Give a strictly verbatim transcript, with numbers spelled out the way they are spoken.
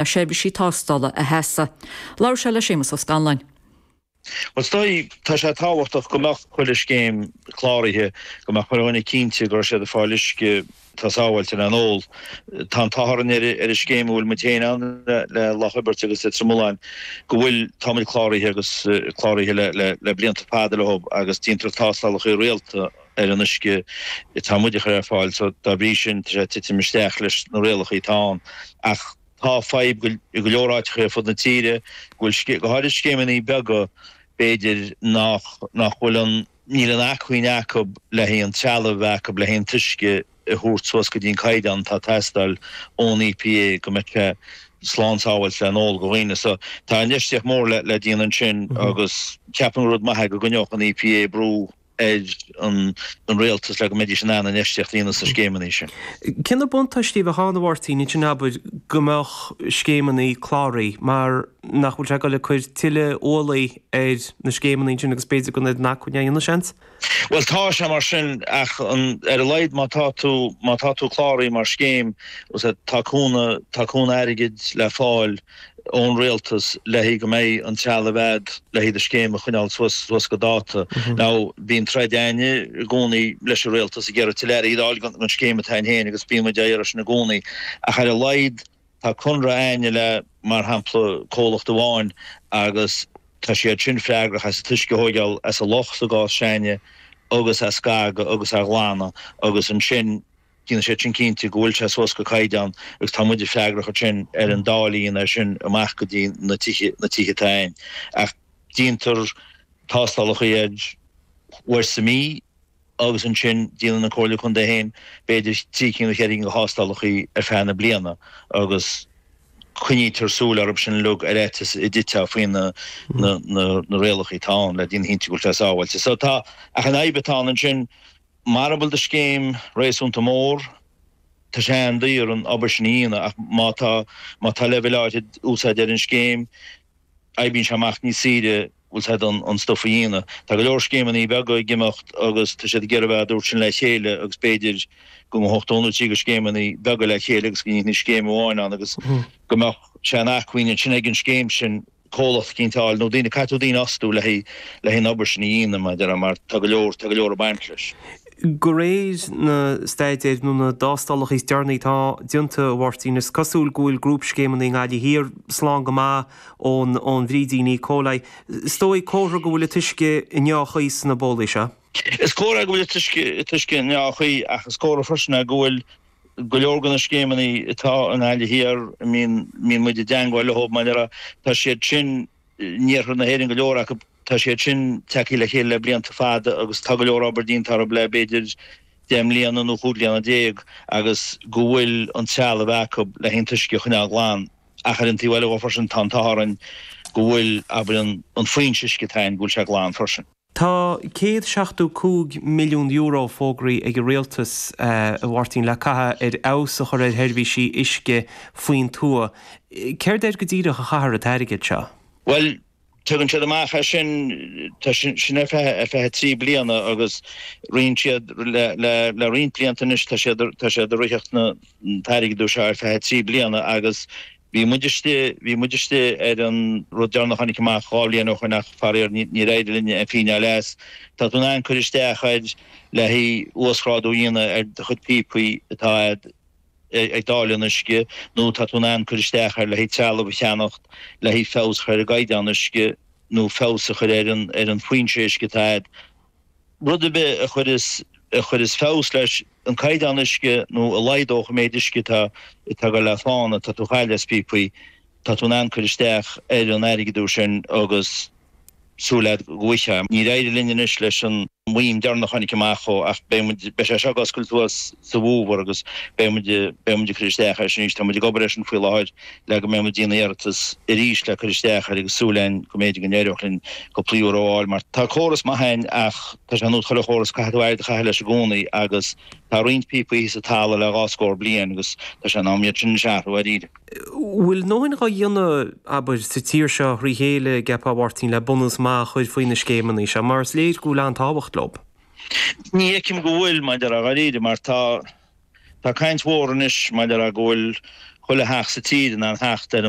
seirbhísí tástála a sheasamh. Labhair sé le Séamus Ó Scanláin. Well stoi tá sé tábhachtach go mbeadh chuile scéim cláraithe go mbeadh chuile dhuine cinnte go raibh siad ag fáil uisce atá sábháilte le n-ól. Tá an t-ádh orainn ar ar an scéim a bhfuil muid féin ann le Loch Iubhairt agus le Droim Ulláin go bhfuil táimid cláraithe agus cláraithe le le le blianta fada leo agus déantar tástálacha rialta ar an uisce atá muid a chur ar fáil so dá bhrí sin tá sé ag titim isteach leis na rialacha atá ann ach tá fadhb go go leor áiteacha ar fud na tíre go bhfuil go háirid scéimeanna beaga b'fhéidir nach nach bhfuil an níl an acmhainn acu le haghaidh an trealamh acu le haghaidh an t-uisce a thabhairt suas go dtí an caighdeán atá ag teastáil ón EPA go mbeadh sé slán sábháilte le n-ól do dhaoine. So tá infheistíocht mór le le déanamh ansin agus ceapaim gur rud maith é go gcoinneodh an EPA brú ar an rialtas le go mbeidís in ann infheistíocht a dhéanamh sna scéimeanna sin. Cé na buntáistí a bheadh ann a Mháirtín ansin abair go mbeadh scéimeanna cláraithe mar nach bhfuil sé ag dul ag cur tuilleadh ualaí ar na scéimeanna sin agus b'fhéidir go mbeidh an acmhainn a dhéanamh seans? Bhuel tá sé mar sin ach an, ar a laghad má tá tú má tá tú cláraithe mar scéim tá cúnamh tá cúnamh airgid le fáil ón rialtas le haghaidh go mbeidh an trealamh a'd le haghaidh do scéim a choinneáil suas suas go dáta. Now bíonn troid a'inne i gcónaí leis an rialtas ag iarraidh tuilleadh airgid a fháil don scéim atá a'inn féin agus bíonn muid á iarraidh sin i gcónaí ach ar a laghad tá conradh a'inne le mar shampla comhlacht amháin agus tá siad sin freagrach as an t-uisce a thóigeáil as an loch sa gcás s'a'inne agus a scagadh agus a ghlanadh agus ansin Déanann siad sin cinnte go bhfuil sé suas go caighdeán agus tá muide freagrach ansin ar an dáileadh a dhéanamh air sin amach go dtí na tithe, na tithe atá a'inn. Ach déantar tástálacha air uair sa mhí agus ansin déanann an Comhairle Contae féin b'fhéidir trí cinn nó ceithre cinn de thástálacha ar feadh na bliana agus coinnítear súil orthu sin uilig ar fhaitíos a dtitfeá faoi na, na, na, na rialacha atá ann le déanamh cinnte go bhfuil sé sábháilte. So tá, ach an fhadhb atá ann ansin, Mara bhfuil do scéim réasúnta mór, tá sé an-daor an obair sin a dhéanamh ach má tá má tá leibhéal áirid úsáid ar an scéim, oibríonn sé amach níos saoire, bhfuil 's a'd, an stuif a dhéanamh. Tá go leor scéimeanna beaga ag imeacht agus tá siad ag iarraidh a bheith dúirt sin le chéile agus b'fhéidir go ngabhfadh dó nó trí de scéimeanna beaga le chéile agus go ndéanfaí scéim amháin ann agus go mbeadh sé in acmhainn ansin ag an scéim sin comhlacht eicínt a fháil nó daoine, caithfidh tú daoine a fhostú le haghaidh le haghaidh an obair sin a dhéanamh mar a déarfá mar tá go leor, tá go leor ag baint leis. De réir na staidéir nó na dtástálacha is deireanaí atá déanta, a Mháirtín, is cosúil go bhfuil grúpscéimeanna i nGaillimh Thiar slán go maith ón ón bhfrídín E. coli. Is dóigh comhartha go bhfuil an t-uisce i ndea-chaoi sna bólaí seo. Is comhartha go bhfuil an t-uisce an t-uisce i ndea-chaoi ach is comhartha freisin é go bhfuil go leor de na scéimeanna atá i nGaillimh Thiar, a mbíonn muid i dteangmháil leo, mar a déarfá, tá siad sin, in iarthar na hÉireann go leor acu, tá siad sin tagtha le chéile le blianta fada agus tá go leor obair déanta orthu le b'fhéidir deich mbliana nó chúig bliana déag agus go bhfuil an trealamh acu le haghaidh an t-uisce a choinneáil glan. Ach ar an taobh eile dhó freisin tá an t-ádh orainn go bhfuil, abair, an foinse uisce atá againn, go bhfuil sé glan freisin. Tá céad seachtó cúig milliún euro fógraithe ag an Rialtas, a Mháirtín, le caitheamh ar fheabhas a chur ar sheirbhísí uisce faoin tuath. Céard air go díreach a chaithfear an t-airgead seo? Bhuel, tugann siad amach é sin, tá sin ar feadh ar feadh trí bliana agus roinn siad le le le roinnt blianta anois tá siad tá siad ag ritheacht na an t-airgead seo ar feadh trí bliana agus Bhí muid istigh, bhí muid istigh ar an rud deireanach a tháinig amach dhá bhliain ó shoin ach faraor níor éirigh linn aon phingin a fháil as. Tá tú in ann cur isteach air le haghaidh uasghrádú a dhéanamh ar do chuid píopaí atá a'd ag dáileadh an uisce nó tá tú in ann cur isteach air le haghaidh trealamh a cheannacht le haghaidh feabhas a chur ar an gcaighdeán uisce nó feabhas a chur ar an ar an foinse uisce atá a'd. Rud ar bith a chuireas a chuireas feabhas leis an caighdeán uisce nó a laghdódh an méid uisce atá atá ag dul le fána, atá tú a chailleadh as píopaí, tá tú in ann cur isteach ar an airgead úr sin agus súil a'd go bhfaighfeá. Níor éirigh linn anois leis an maoin deireanach a tháinig amach ó ach beidh muid, beidh sé seo ag oscailt suas sa bhfómhar agus beidh muid, beidh muid ag cur isteach air sin arís. Tá muid ag obair air sin faoi láthair le go mbeidh muid ag déanamh iarratas arís le cur isteach air agus súil a'inn go mb'fhéidir go n-éireodh linn cúpla euro a fháil mar tá córas maith a'inn ach tá sé ar nós chuile chóras caithfidh tú aird a chaitheamh leis i gcónaí agus tá roinnt píopaí thíos sa talamh le dhá scór bliain agus tá sé in am iad sin anois a athrú dáiríre. Bhfuil a ndóthain dhá dhéanamh, abair, sa tír seo thrí chéile, an gceapfá, a Mháirtín, le bunús maith a chur faoi na scéimeanna seo mar is léir go bhfuil an-tábhacht leo? Ní fheicim go bhfuil, maidir le dáiríre, mar tá Tá caint mhór anois maidir le go bhfuil chuile theach sa tír in ann theacht ar an